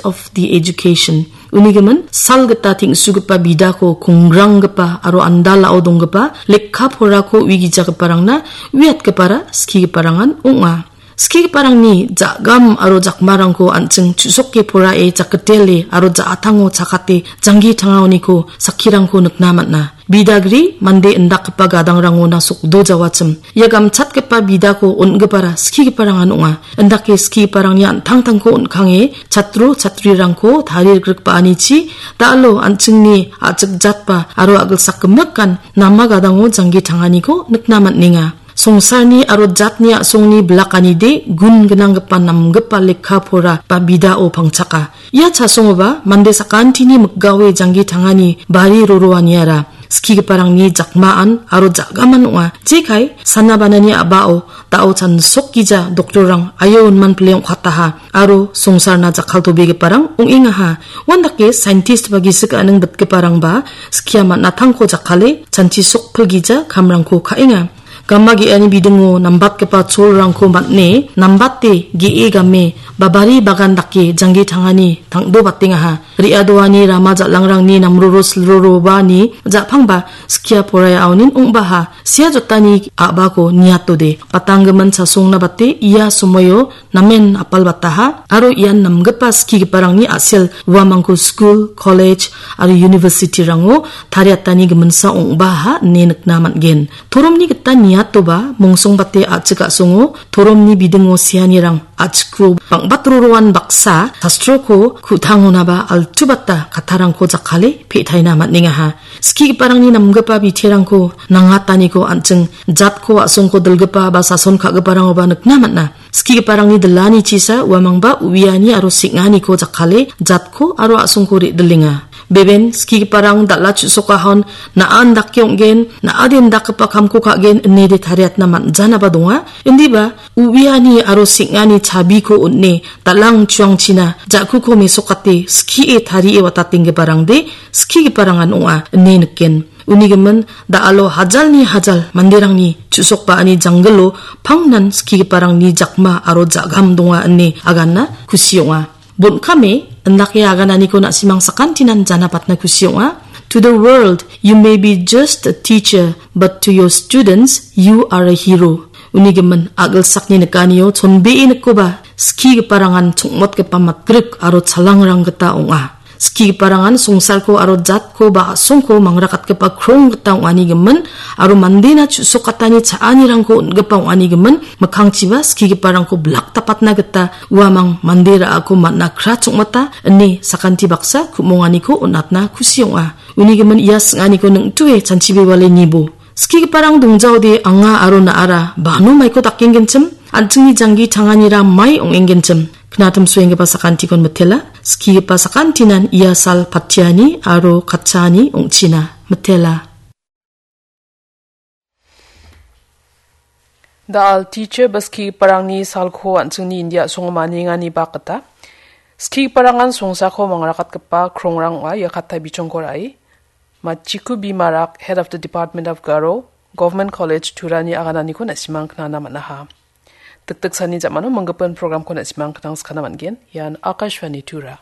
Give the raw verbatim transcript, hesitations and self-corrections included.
of the education. Uni gimin, sal gita teng·sugipa bidako kongranggipa aro andalao donggipa lekka porako uigijagiparangna uiatgipara skigiparangan ong·a. Skigiparangni ja·gam aro jakmarangko an·ching chu·soke porae jakgitele aro ja·atango chakate janggi tangaoniko sakkirangko nikna man·a. Bidagri mande indakgipa gadangrangona sokdo jawachim. Ia gamchatgipa bidako on·gipara skigiparangan ong·a. Indake skigiparangni an·tangtangko on·kange chatro chatrirangko tarie grikbaanichi da·alo an·chingni a·chik jatba aro a·gilsak gimikan nama gadango janggi tanganiko nikna man·enga. Songsarni aro jatni a·songni bilakanide gun gnanggipa namgipa lekka pora ba bidao pangchaka. Ia chasongoba mande sakantini mikgaoe janggi tangani bari roroaniara skigiparangni jakmaan aro jagaman ong·a. Jekai sana banani a·bao da·o chansokgija doktorrang aio inman pile ong·kataha aro songsarna jakkaltobegiparang ong·engaha. Uandake saintist ba gisik aning bitgiparangba skia man·atangko jakkale chanchi sokpilgija kamrangko ka·enga. Gama ge·ani bidingo nambatgipa cholrangko man·e, nambate ge·e game, babari bagan dake janggi tangani tangdobatengaha. Re·adoani rama jal·angrangni namroro silrorobani ja·pangba skia poraia aonin ong·baha. Sia jotani a·bako niatode. Batanggimin chasongna bate ia somoio namen apalbataha aro ian namgipa skigiparangni a·sel uamangko skul, kolej aro university-rango tariatani giminsa ong·baha ine nikna man·gen. Toromni gita niatoba mongsongbate a·chik a·songo toromni bidingo seanirang a·chikro bang·batroroan baksa sastroko ku·tangonaba altubata kattarangko jakkale pe·taina man·engaha. Skigiparangni namgipa biterangko nangataniko an·ching jatko a·songko dilgipa ba sason ka·giparangoba nikna man·a. Skigiparangni dilani chisa uamangba uiani aro seng·aniko jakkale jatko aro a·songko re·dilenga. Beben skigiparang dal·a chu·sokahon na·an dake ong·gen, na·aden dakgipa kamko ka·gen inede tariatna man·janaba donga. Indiba uiani aro seng·ani chabiko on·e dal·ang chuangchina ja·kuko mesokate skie tarie watatenggiparangde skigiparangan ong·a ine niken. Uni gimin da·alo hajalni hajal manderangni chu·sokbaani janggilo pangnan skigiparangni jakma aro ja·gam donga ine aganna kusi ong·a. Bon·kame indake agananiko na·simang sakantinan janapatna kusi ong·a. To the world, you may be just a teacher, but to your students, you are a hero. Uni gimin a·gilsakni nikanio chonbee nikoba skigiparangan chongmotgipa matgrik aro chalangrang gita ong·a. Skigiparangan songsarko aro jatko ba a·songko mangrakatgipa krong gita ong·ani gimin aro mandena chu·sokatani cha·anirangko on·gipa ong·ani gimin mikkangchiba skigiparangko bilak dapatna gita uamang mande ra·ako man·a kra chongmota ine sakanti baksa ku·monganiko on·atna kusi ong·a. Uni gimin ia sing·aniko ning·tue chanchibewale nibo. Skigiparang dongjaode anga aro na·ara bano maiko dakenggenchim, an·chingni janggi tanganira mai ong·enggenchim. Knatim suenggipa sakantikon mitela, skigipa sakantinan ia sal patiani aro katchaani ong·china. Mitela. Da·al teacher ba skigiparangni salko an·chingni India a·songo maniengani bak gita. Skigiparangan songsako mangrakatgipa krongrang ong·a ia katta bichongko ra·e. Machiku Bimarak, Head of the Department of Garo, Government College Turani agananiko na·simang knana man·aha. Dikdiksani jamano manggipa programko na·simang knang skana man·gen. Ian Akashvani Tura.